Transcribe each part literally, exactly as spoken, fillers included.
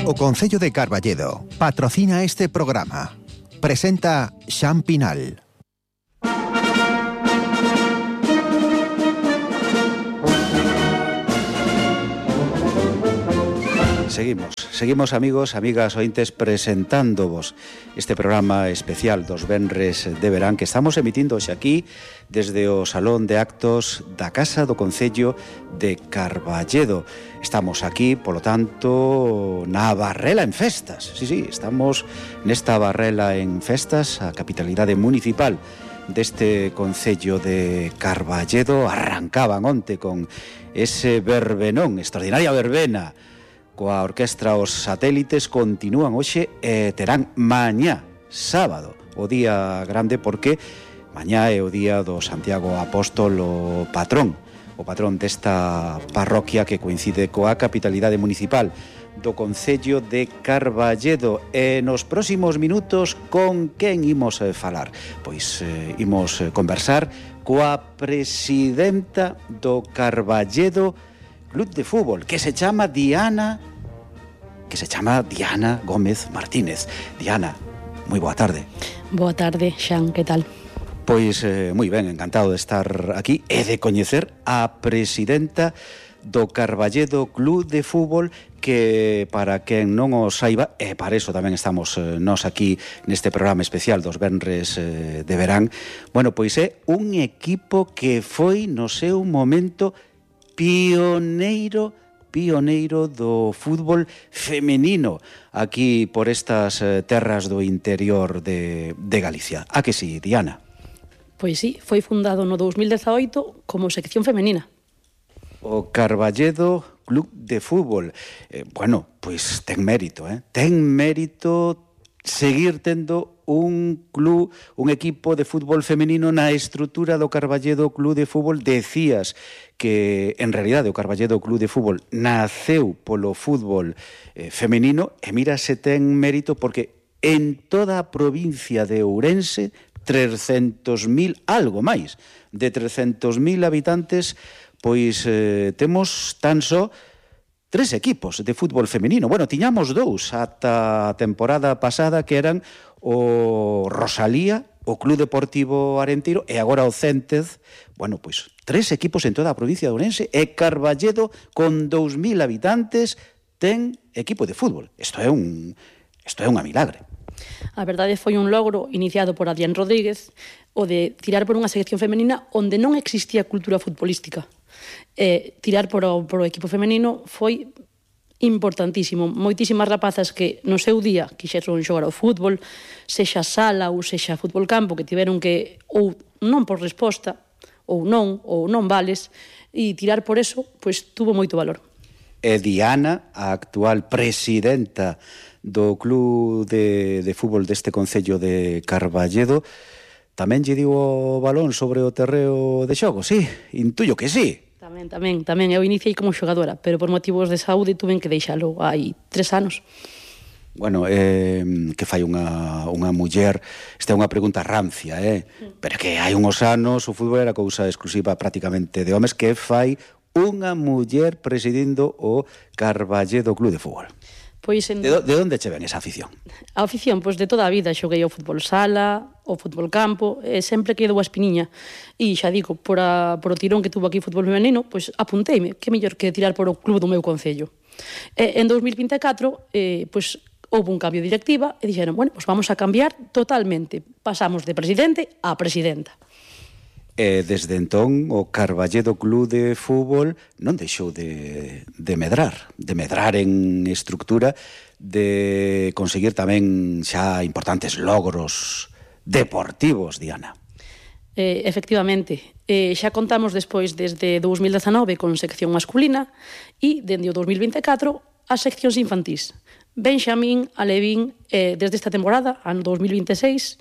O Concello de Carballedo patrocina este programa. Presenta Xan Pinal. Seguimos, seguimos amigos, amigas ointes, presentándovos este programa especial dos venres de verán que estamos emitindo hoxe aquí desde o Salón de Actos da Casa do Concello de Carballedo. Estamos aquí, polo tanto, na Barrela en Festas. Sí, sí, estamos nesta Barrela en Festas, a capitalidade municipal deste Concello de Carballedo. Arrancaban onte con ese verbenón, extraordinaria verbena, coa orquestra Os Satélites. Continúan hoxe e terán mañá, sábado, o día grande, porque mañá é o día do Santiago Apóstolo patrón, o patrón desta parroquia que coincide coa capitalidade municipal do Concello de Carballedo. E nos próximos minutos, con quen imos eh, falar? Pois eh, imos eh, conversar coa presidenta do Carballedo Club de Fútbol, que se chama Diana, que se chama Diana Gómez Martínez. Diana, moi boa tarde. Boa tarde, Xan, que tal? Pois eh, moi ben, encantado de estar aquí e de coñecer a presidenta do Carballedo Club de Fútbol, que para quen non o saiba, e para iso tamén estamos eh, nós aquí neste programa especial dos venres eh, de verán, bueno, pois é un equipo que foi no seu momento pioneiro pioneiro do fútbol femenino aquí por estas eh, terras do interior de, de Galicia. A que sí, Diana? Pois sí, foi fundado no dous mil dezaoito como sección femenina. O Carballedo Club de Fútbol. Eh, bueno, pois ten mérito, eh? Ten mérito seguir tendo un club, un equipo de fútbol femenino na estrutura do Carballedo Club de Fútbol. Decías que, en realidade, o Carballedo Club de Fútbol naceu polo fútbol eh, femenino, e mira se ten mérito, porque en toda a provincia de Ourense, trescentos mil, algo máis, de trescentos mil habitantes, pois eh, temos tan só tres equipos de fútbol femenino. Bueno, tiñamos dous ata a temporada pasada, que eran o Rosalía, o Club Deportivo Arenteiro, e agora o Céntez. Bueno, pois tres equipos en toda a provincia de Ourense, e Carballedo, con dous mil habitantes, ten equipo de fútbol. Isto é un, isto é unha milagre. A verdade foi un logro iniciado por Adrián Rodríguez, o de tirar por unha sección femenina onde non existía cultura futbolística. Eh, tirar por o, por o equipo femenino foi importantísimo. Moitísimas rapazas que no seu día quixeron xogar ao fútbol, sexa sala ou sexa fútbol campo, que tiveron que, ou non por resposta, ou non, ou non vales, e tirar por eso, pois tuvo moito valor. E Diana, a actual presidenta do Club de, de Fútbol deste Concello de Carballedo, tamén lle digo o balón sobre o terreo de xogo, sí? Intuyo que sí. Tamén, tamén, tamén. Eu iniciei como xogadora, pero por motivos de saúde tuven que deixalo hai tres anos. Bueno, eh, que fai unha, unha muller, esta é unha pregunta rancia, eh? Pero que hai uns anos o fútbol era cousa exclusiva prácticamente de homes. Que fai unha muller presidindo o Carballedo Club de Fútbol? Pois en... de, do, de onde che ven esa afición? A afición, pois de toda a vida. Xoguei ao fútbol sala, ao fútbol campo, e sempre quedou a espiniña. E xa digo, por, a, por o tirón que tuvo aquí o fútbol femenino, pois apunteime, que mellor que tirar por o club do meu concello. E en dous mil vinte e catro, eh, pois houve un cambio de directiva e dixeron, bueno, pois vamos a cambiar totalmente. Pasamos de presidente a presidenta. E desde entón o Carballedo Club de Fútbol non deixou de, de medrar, de medrar en estructura, de conseguir tamén xa importantes logros deportivos, Diana. Eh, efectivamente, eh, xa contamos despois desde dous mil dezanove con sección masculina e dende o dous mil vinte e catro as seccións infantís. Benxamín, Alevín, eh, desde esta temporada, ano dous mil vinte e seis,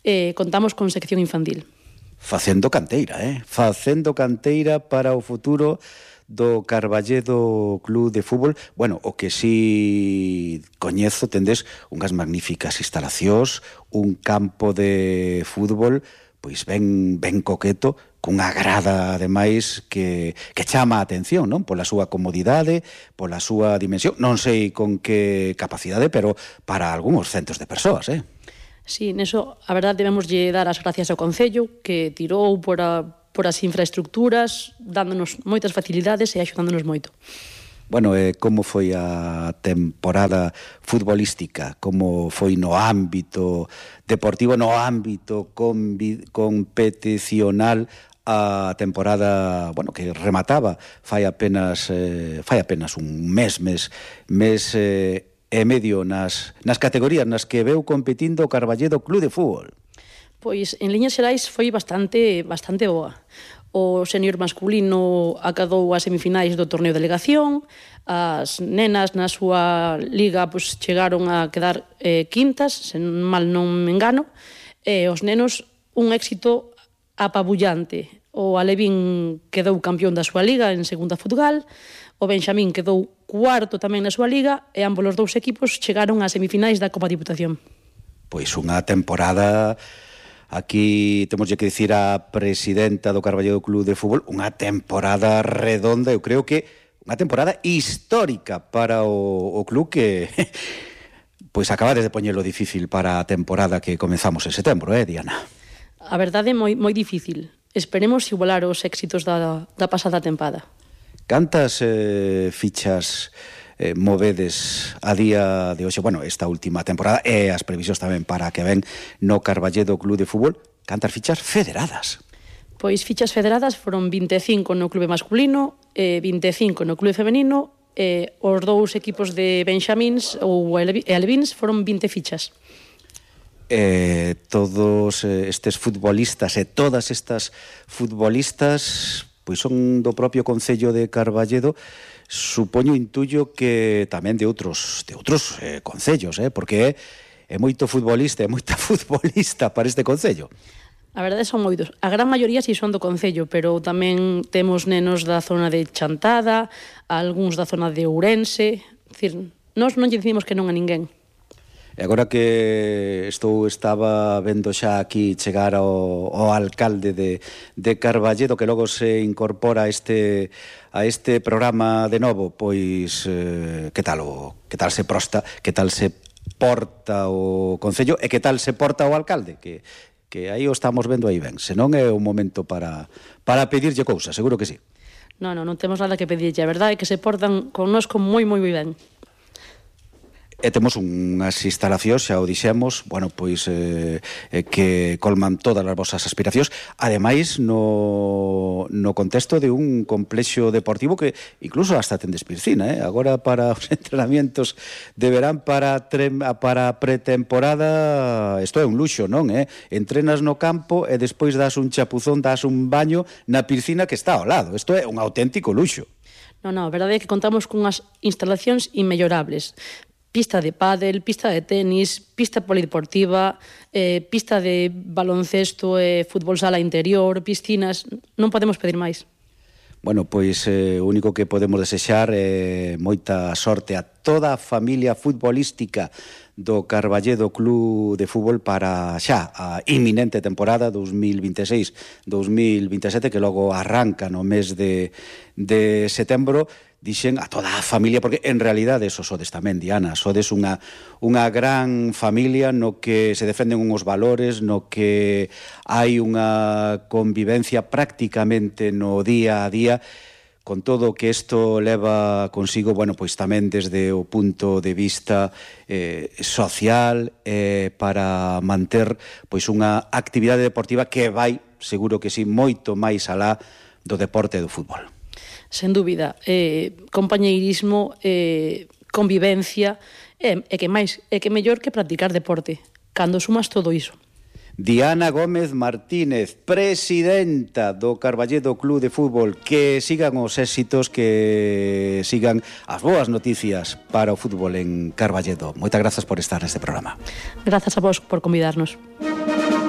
eh, contamos con sección infantil. Facendo canteira, eh? Facendo canteira para o futuro do Carballedo Club de Fútbol. Bueno, o que si coñezo, tendes unhas magníficas instalacións, un campo de fútbol pois ben ben coqueto, cunha grada ademais que, que chama a atención, non? Pola súa comodidade, pola súa dimensión, non sei con que capacidade, pero para algúns centos de persoas, eh? Sí, neso, a verdade, debemos lle dar as gracias ao Concello, que tirou por, a, por as infraestructuras, dándonos moitas facilidades e axudándonos moito. Bueno, eh, como foi a temporada futbolística? Como foi no ámbito deportivo, no ámbito competicional a temporada, bueno, que remataba fai apenas eh, fai apenas un mes, mes, mes eh, e medio nas, nas categorías nas que veu competindo o Carballedo Club de Fútbol? Pois, en liñas xerais, foi bastante bastante boa. O senior masculino acadou as semifinais do torneo de delegación, as nenas na súa liga pois, chegaron a quedar eh, quintas, se mal non me engano, e os nenos un éxito apabullante. O Alevín quedou campeón da súa liga en segunda futgal, o Benxamín quedou cuarto tamén na súa liga, e ambos os dous equipos chegaron ás semifinais da Copa Diputación. Pois unha temporada... Aquí temos que dicir a presidenta do Carballedo Club de Fútbol, unha temporada redonda, eu creo que unha temporada histórica para o, o club que pois acabades de poñelo difícil para a temporada que comezamos en setembro, eh, Diana? A verdade é moi, moi difícil. Esperemos igualar os éxitos da, da pasada tempada. Cantas eh, fichas eh, movedes a día de hoxe, bueno, esta última temporada e as previsións tamén para que ven no Carballedo Club de Fútbol, cantas fichas federadas? Pois fichas federadas foron vinte e cinco no clube masculino, e vinte e cinco no clube femenino, e os dous equipos de Benxamíns ou Alevíns foron vinte fichas. Eh, todos estes futbolistas e todas estas futbolistas pois son do propio Concello de Carballedo. Supoño, intuyo que tamén de outros de outros eh, concellos, eh, porque é, é moito futbolista, é moita futbolista para este concello. A verdade son moitos. A gran maioría si son do concello, pero tamén temos nenos da zona de Chantada, algúns da zona de Ourense. É dicir, nós non lle dicimos que non a ninguén. E agora que estou estaba vendo xa aquí chegar ao, ao alcalde de, de Carballedo, que logo se incorpora a este, a este programa de novo, pois eh, que tal o, que tal se prosta, que tal se porta o concello e que tal se porta o alcalde, que, que aí o estamos vendo aí ben. Senón é o momento para, para pedirlle cousas, seguro que sí. Non, non, non temos nada que pedirlle. A verdade é que se portan connosco moi, moi, moi ben. E temos unhas instalacións, xa o dixemos, bueno, pois eh, que colman todas as vosas aspiracións, ademais no, no contexto de un complexo deportivo que incluso hasta tendes piscina, eh? Agora para os entrenamientos de verán para, tre, para pretemporada, isto é un luxo, non? Eh? Entrenas no campo e despois das un chapuzón, das un baño na piscina que está ao lado. Isto é un auténtico luxo. Non, non, a verdade é que contamos cunhas instalacións inmellorables. Pista de pádel, pista de tenis, pista polideportiva, eh, pista de baloncesto e eh, fútbol sala interior, piscinas, non podemos pedir máis. Bueno, pois eh, o único que podemos desexar é eh, moita sorte a toda a familia futbolística do Carballedo Club de Fútbol para xa a inminente temporada dos mil vinte e seis dos mil vinte e sete, que logo arranca no mes de, de setembro. Dixen a toda a familia, porque en realidade eso sodes tamén, Diana, sodes unha, unha gran familia no que se defenden uns valores, no que hai unha convivencia prácticamente no día a día, con todo o que isto leva consigo, bueno, pois tamén desde o punto de vista eh, social, eh, para manter pois unha actividade deportiva que vai, seguro que sí, moito máis alá do deporte e do fútbol. Sen dúbida, eh, compañeirismo, eh, convivencia, e eh, que máis, é que mellor que practicar deporte, cando sumas todo iso. Diana Gómez Martínez, presidenta do Carballedo Club de Fútbol, que sigan os éxitos, que sigan as boas noticias para o fútbol en Carballedo. Moitas grazas por estar neste programa. Grazas a vos por convidarnos.